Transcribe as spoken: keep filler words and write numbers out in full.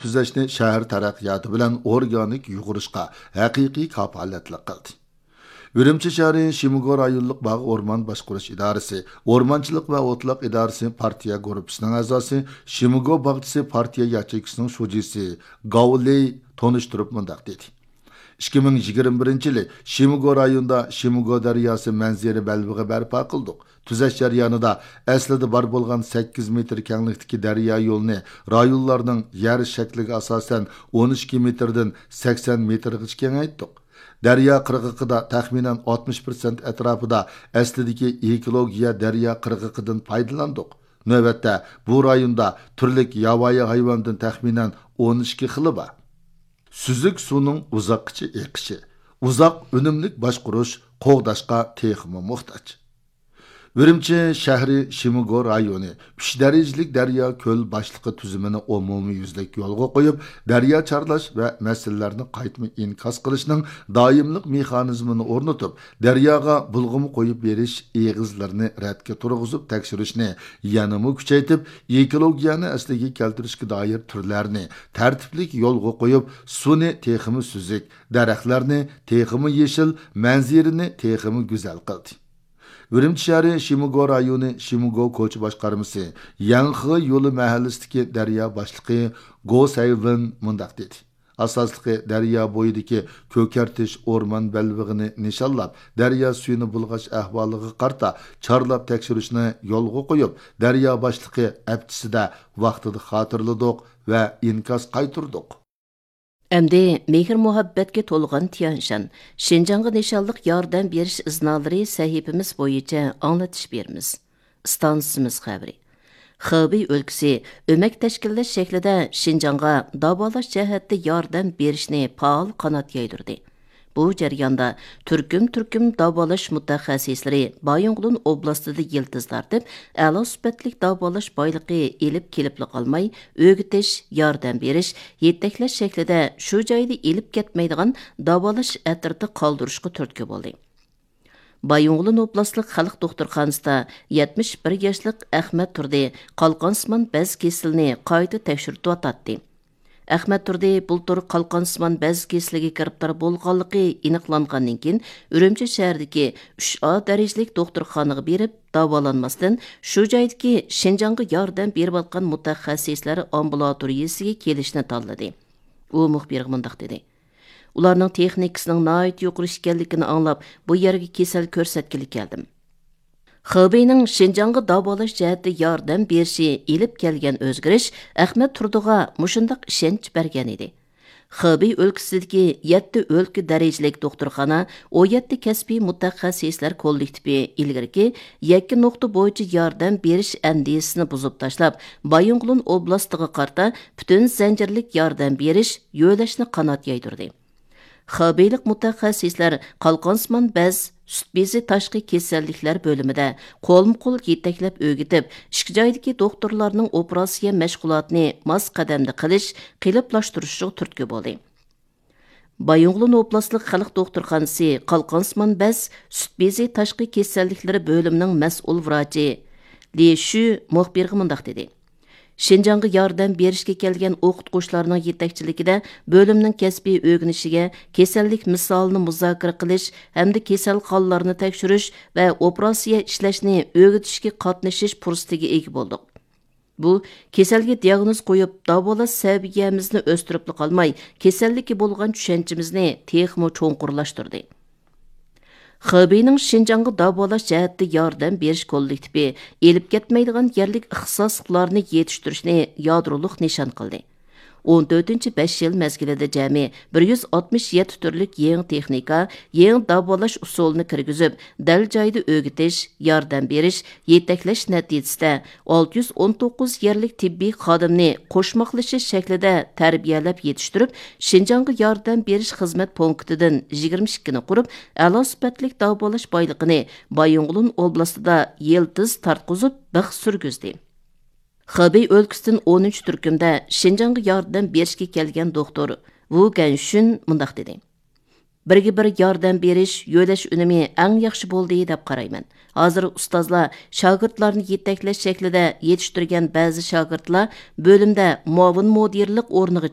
تۈزەشنى شەھەر تەرەققىياتى بىلەن ئورگانىك يۇغۇرۇشقا ھەقىقىي كاپالەتلىك قىلدى. ئۈرۈمچى شەھىرى شىمىگو رايونلۇق باغ ئورمان باشقۇرۇش ئىدارىسى، ئورمانچىلىق ۋە ئوتلاق ئىدارىسى پارتىيە گۇرۇپپىسىنىڭ ئەزاسى، شىمىگو باغچىسى پارتىيە ياچېيكىسىنىڭ شۇجىسى گاۋ لېي تونۇشتۇرۇپ مۇنداق دېدى: ئىككى مىڭ يىگىرمە بىرىنچى يىلى شىمىگو رايونىدا شىمىگو دەرياسى مەنزىرە بەلبېغى بەرپا قىلدۇق. تۈزەش جەريانىدا ئەسلىدە بار بولغان سەككىز مېتىر كەڭلىكتىكى دەريا يولىنى رايونلارنىڭ يەر شەكلىگە ئاساسەن ئون ئىككى مېتىردىن سەكسەن مېتىرغىچە كېڭەيتتۇق. دەريا قىرغىقىدا تەخمىنەن ئاتمىش پىرسەنت ئەتراپىدا ئەسلىدىكى ئېكولوگىيە دەريا قىرغىقىدىن پايدىلاندۇق. نۆۋەتتە بۇ رايوندا تۈرلۈك ياۋايى ھايۋاندىن تەخمىنەن ئون ئىككى خىلى بار. سۈزۈك سۇنىڭ ئۇزاققىچە ئېقىشى، ئۇزاق ئۈنۈملۈك باشقۇرۇش قوغداشقا تېخىمۇ موھتاج. ئۈرۈمچى شەھىرى شىمىگو رايونى ئۈچ دەرىجىلىك دەريا كۆل باشلىقى تۈزۈمىنى ئومۇميۈزلۈك يولغا قويۇپ، دەريا چارلاش ۋە مەسىلىلەرنى قايتما ئىنكاس قىلىشنىڭ دائىملىق مېخانىزمىنى ئورنىتىپ، دەرياغا بۇلغىما قويۇپ بېرىش ئېغىزلىرىنى رەتكە تۇرغۇزۇپ تەكشۈرۈشنى يەنىمۇ كۈچەيتىپ، ئېكولوگىيەنى ئەسلىگە كەلتۈرۈشكە دائىر تۈرلەرنى تەرتىپلىك يولغا قويۇپ، سۇنى تېخىمۇ سۈزۈك، دەرەخلەرنى تېخىمۇ يېشىل، مەنزىرىنى تېخىمۇ گۈزەل قىلدى. ئۈرۈمچى شەھىرى شىمىگو رايونى شىمىگو كوچا باشقارمىسى يەنخې يولى مەھەللىسىدىكى دەريا باشلىقى گو سەيۋېن مۇنداق دېدى: ئاساسلىقى دەريا بويىدىكى كۆكەرتىش ئورمان بەلبېغىنى نىشانلاپ، دەريا سۈيىنى بۇلغاش ئەھۋالىغا قارىتا چارلاپ تەكشۈرۈشنى يولغا قويۇپ، دەريا باشلىقى ئەپتىسىدە ۋاقتىدا خاتىرىلىدۇق ۋە ئىنكاس قايتۇردۇق. ئەمدى مېھىر-مۇھەببەتكە تولغان تيەنشان شىنجاڭغا نىشانلىق ياردەم بېرىش ئىزنالىرى سەھىپىمىز بويىچە ئاڭلىتىش بېرىمىز. ئىستانسىمىز خەۋىرى. خېبېي ئۆلكىسى ئۆمەك تەشكىللەش شەكلىدە شىنجاڭغا داۋالاش جەھەتتە ياردەم بېرىشنى پائال قانات يايدۇردى. بۇ جەرياندا تۈركۈم-تۈركۈم داۋالاش مۇتەخەسسىسلىرى بايىنغولىن ئوبلاستىدا يىلتىز تارتىپ، ئەلا سۈپەتلىك داۋالاش بايلىقى ئېلىپ كېلىپلا قالماي، ئۆگىتىش، ياردەم بېرىش، يېتەكلەش شەكلىدە شۇ جايدا ئېلىپ كەتمەيدىغان داۋالاش ئەترىتى قالدۇرۇشقا تۈرتكە بولدى. بايىنغولىن ئوبلاستلىق خەلق دوختۇرخانىسىدا يەتمىش بىر ياشلىق ئەخمەت تۇردى قالقانسىمان بەز كېسىلىنى قايتا تەكشۈرتۈۋاتاتتى. ئەخمەت تۇردى بۇلتۇر قالقانسىمان بەز كېسىلىگە گىرىپتار بولغانلىقى ئېنىقلانغاندىن كېيىن، ئۈرۈمچى شەھىرىدىكى ئۈچ ئا دەرىجىلىك دوختۇرخانىغا بېرىپ داۋالانماستىن، شۇ جايدىكى شىنجاڭغا ياردەم بېرىۋاتقان مۇتەخەسسىسلەر ئامبۇلاتورىيىسىگە كېلىشنى تاللىدى. ئۇ مۇخبىرغا مۇنداق دېدى: ئۇلارنىڭ تېخنىكىسىنىڭ ناھايىتى يۇقىرى ئىكەنلىكىنى ئاڭلاپ، بۇ يەرگە كېسەل كۆرسەتكىلى كەلدىم. خېبېينىڭ شىنجاڭغا داۋالاش جەھەتتە ياردەم بېرىشى ئېلىپ كەلگەن ئۆزگىرىش ئەخمەت تۇردىغا مۇشۇنداق ئىشەنچ بەرگەن ئىدى. خېبېي ئۆلكىسىدىكى يەتتە ئۆلكە دەرىجىلىك دوختۇرخانا، ئون يەتتە كەسپىي مۇتەخەسسىسلەر كوللېكتىپى ئىلگىرىكى يەككە نۇقتا بويىچە ياردەم بېرىش ئەندىزىسىنى بۇزۇپ تاشلاپ، بايىنغولىن ئوبلاستىغا قارىتا پۈتۈن زەنجىرلىك ياردەم بېرىش، يۆلەشنى قانات يايدۇردى. خېبېيلىق مۇتەخەسسىسلەر قالقانسىمان بەز، سۈت بېزى تاشقى كېسەللىكلەر بۆلۈمىدە قولمۇ قول يېتەكلەپ ئۆگىتىپ، ئىككى جايدىكى دوختۇرلارنىڭ ئوپېراتسىيە مەشغۇلاتىنى ماس قەدەمدە قىلىش، قېلىپلاشتۇرۇشىغا تۈرتكە بولدى. بايىنغولىن ئوبلاستلىق خەلق دوختۇرخانىسى قالقانسىمان بەز، سۈت بېزى تاشقى كېسەللىكلىرى بۆلۈمىنىڭ مەسئۇل ۋراچى لى شۈ مۇخبىرغا مۇنداق دېدى: شىنجاڭغا ياردەم بېرىشكە كەلگەن ئوقۇتقۇچىلارنىڭ يېتەكچىلىكىدە بۆلۈمنىڭ كەسپىي ئۆگىنىشىگە، كېسەللىك مىسالىنى مۇزاكىرە قىلىش ھەمدە كېسەلخانىلارنى تەكشۈرۈش ۋە ئوپېراتسىيە ئىشلەشنى ئۆگىتىشكە قاتنىشىش پۇرسىتىگە ئىگە بولدۇق. بۇ كېسەلگە دىئاگنوز قويۇپ، داۋالاش سەۋىيەمىزنى ئۆستۈرۈپلا قالماي، كېسەللىككە بولغان چۈشەنچىمىزنى تېخىمۇ چوڭقۇرلاشتۇردى. خېبېينىڭ شىنجاڭغا داۋالاش جەھەتتە ياردەم بېرىش كوللېكتىپى ئېلىپ كەتمەيدىغان يەرلىك ئىختىساسلىقلارنى يېتىشتۈرۈشنى يادرولۇق نىشان قىلدى. ئون تۆتىنچى بەش يىل مەزگىلىدە جەمئىي بىر يۈز ئاتمىش يەتتە تۈرلۈك يېڭى تېخنىكا، يېڭى داۋالاش ئۇسۇلىنى كىرگۈزۈپ، دەل جايىدا ئۆگىتىش، ياردەم بېرىش، يېتەكلەش نەتىجىسىدە، ئالتە يۈز ئون توققۇز يەرلىك تېببىي خادىمنى قوشماقلىشىش شەكلىدە تەربىيەلەپ يېتىشتۈرۈپ، شىنجاڭغا ياردەم بېرىش خىزمەت پونكىتىدىن يىگىرمە ئىككىنى قۇرۇپ، ئەلا سۈپەتلىك داۋالاش بايلىقىنى بايىنغولىن ئوبلاستىدا يىلتىز تارتقۇزۇپ بىخ سۈرگۈزدى. خېبېي ئۆلكىسىدىن ئونىنچى تۈركۈمدە شىنجاڭغا ياردەم بېرىشكە كەلگەن دوختۇر ۋۇ گەنشۈن مۇنداق دېدى: بىرگە بىر ياردەم بېرىش، يۆلەش ئۈنۈمى ئەڭ ياخشى بولدى دەپ قارايمەن. ھازىر ئۇستازلار شاگىرتلارنى يېتەكلەش شەكلىدە يېتىشتۈرگەن بەزى شاگىرتلار بۆلۈمدە مۇئاۋىن مۇدىرلىق ئورنىغا